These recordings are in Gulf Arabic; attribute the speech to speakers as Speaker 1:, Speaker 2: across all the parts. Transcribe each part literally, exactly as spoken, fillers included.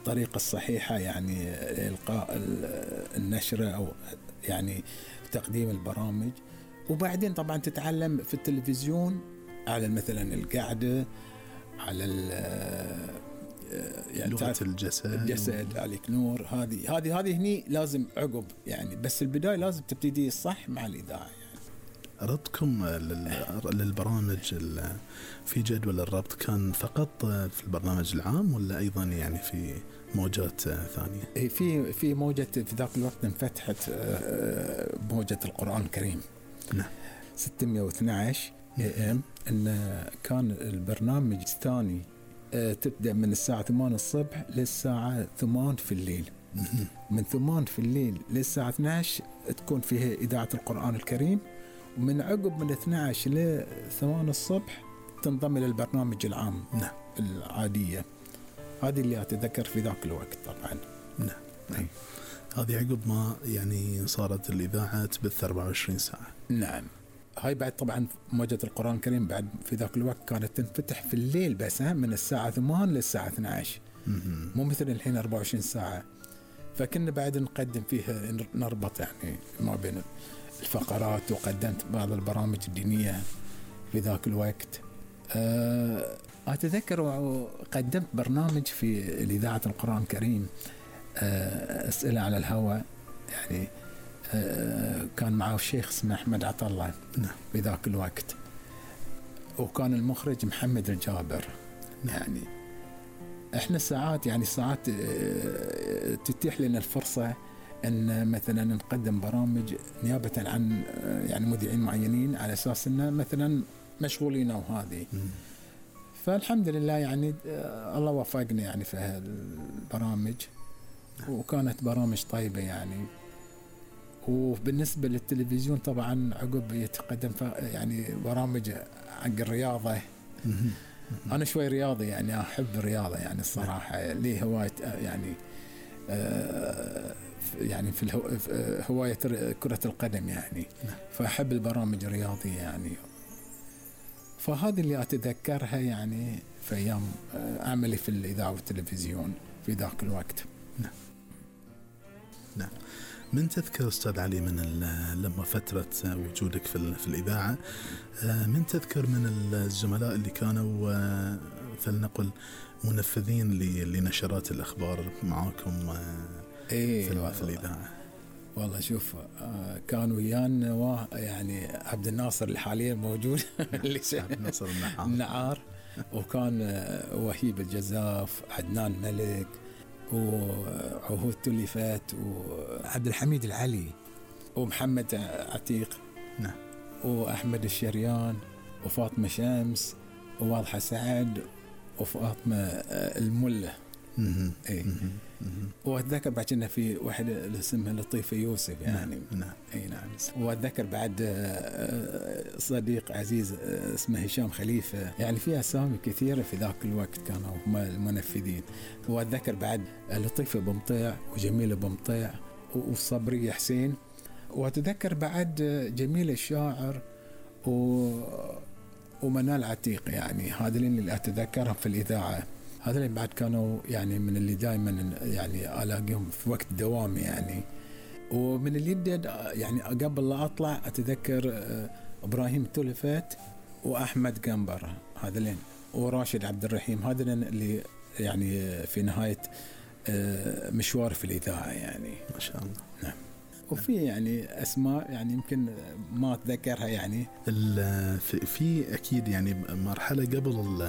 Speaker 1: الطريقة الصحيحة يعني إلقاء النشرة أو يعني تقديم البرامج. وبعدين طبعا تتعلم في التلفزيون على مثلا القعدة، على
Speaker 2: يعني لغة الجسد
Speaker 1: الجسد عليك نور. هذه هذه هذه هني لازم عقب يعني، بس البداية لازم تبتدي صح مع الإذاعة يعني.
Speaker 2: ربطكم للبرامج في جدول الربط كان فقط في البرنامج العام ولا أيضا يعني في موجات ثانية؟
Speaker 1: في في موجة في ذاك الوقت انفتحت موجة القرآن الكريم
Speaker 2: نعم
Speaker 1: ستمائة واثني عشر إيه إم، إن كان البرنامج الثاني تبدأ من الساعة ثمانية الصبح للساعة ثمانية في الليل. من ثمانية في الليل للساعة اثني عشر تكون فيها إذاعة القرآن الكريم، ومن عقب من اثني عشر لثمانية الصبح تنضم إلى البرنامج العام
Speaker 2: نعم
Speaker 1: العادية. هذه اللي أتذكر في ذاك الوقت طبعا.
Speaker 2: نعم نعم. هذه عقب ما يعني صارت الإذاعة تبث أربعة وعشرين ساعة.
Speaker 1: نعم. هاي بعد طبعا موجة القرآن الكريم بعد في ذاك الوقت كانت تنفتح في الليل بس من الساعة ثمانية للساعة اثني عشر، مو مثل الحين أربعة وعشرين ساعة. فكنا بعد نقدم فيها نربط يعني ما بين الفقرات، وقدمت بعض البرامج الدينية في ذاك الوقت. أتذكر قدمت برنامج في إذاعة القرآن الكريم أسئلة على الهواء يعني، كان معه الشيخ اسمه أحمد عطلة في ذاك الوقت، وكان المخرج محمد الجابر. يعني احنا ساعات يعني ساعات تتيح لنا الفرصة ان مثلا نقدم برامج نيابة عن يعني مذيعين معينين على اساس انه مثلا مشغولين او هذه. فالحمد لله يعني الله وفقني يعني في هالبرامج، وكانت برامج طيبة يعني. وبالنسبة للتلفزيون طبعا عقب يتقدم يعني برامج عن الرياضة. أنا شوي رياضي يعني، أحب الرياضة يعني الصراحة، لي هواية يعني يعني في هواية كرة القدم يعني، فأحب البرامج الرياضية يعني. فهذه اللي أتذكرها يعني في أيام عملي في الإذاعة والتلفزيون في ذاك الوقت.
Speaker 2: نعم نعم. من تذكر أستاذ علي من لما فترة وجودك في, في الإذاعة، من تذكر من الزملاء اللي كانوا فلنقل منفذين لنشرات الأخبار معاكم
Speaker 1: إيه
Speaker 2: في, في الإذاعة؟
Speaker 1: والله شوف كان ويانا يعني عبد الناصر اللي حاليا موجود اللي
Speaker 2: عبد الناصر النعار.
Speaker 1: النعار، وكان وهيب الجزاف، عدنان ملك، وعهود تلفات، وعبد الحميد العلي، ومحمد عتيق،
Speaker 2: نعم،
Speaker 1: وأحمد الشريان، وفاطمة شمس، وواضحة سعد، وفاطمة الملة. اي واتذكر بعد كنا في واحد اسمه لطيفة يوسف يعني.
Speaker 2: نعم
Speaker 1: اي نعم. واتذكر بعد صديق عزيز اسمه هشام خليفة، يعني في اسامي كثيرة في ذاك الوقت كانوا هم المنفذين. واتذكر بعد لطيفة بمطيع، وجميلة بمطيع، وصبري حسين. واتذكر بعد جميل الشاعر و ومنال عتيق، يعني هذا اللي اتذكرهم في الاذاعه. هذا اللي بعد كانوا يعني من اللي دائما يعني الاقيهم في وقت دوامي يعني. ومن اللي يعني قبل لا اطلع اتذكر ابراهيم تلفات واحمد قنبر، هذا لين، وراشد عبد الرحيم، هذا اللي يعني في نهايه مشوار في الاذاعه يعني.
Speaker 2: ما شاء الله.
Speaker 1: نعم. وفي يعني أسماء يعني يمكن ما أتذكرها يعني.
Speaker 2: في أكيد يعني مرحلة قبل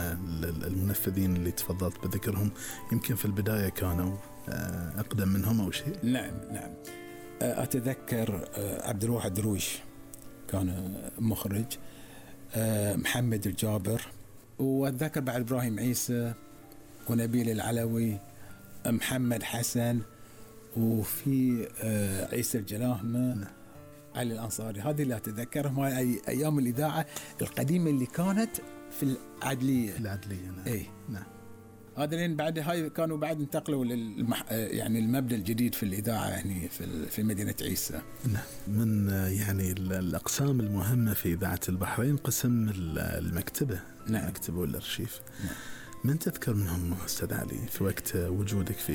Speaker 2: المنفذين اللي تفضلت بذكرهم، يمكن في البداية كانوا أقدم منهم أو شيء.
Speaker 1: نعم نعم. أتذكر عبد الواحد درويش كان مخرج، محمد الجابر، وأتذكر بعد إبراهيم عيسى، ونبيل العلوي، محمد حسن، وفي عيسى الجلاهمة، علي الأنصاري. هذه اللي أتذكرهم، هاي أيام الإذاعة القديمة اللي كانت في العدلية.
Speaker 2: في العدلية نعم.
Speaker 1: إيه
Speaker 2: نعم.
Speaker 1: هذا لين بعد هاي كانوا بعد انتقلوا للمح... يعني المبنى الجديد في الإذاعة يعني في في مدينة عيسى.
Speaker 2: نعم. من يعني الأقسام المهمة في إذاعة البحرين قسم المكتبة.
Speaker 1: نعم.
Speaker 2: المكتبة والأرشيف.
Speaker 1: نعم.
Speaker 2: من تذكر منهم أستاذ علي في وقت وجودك في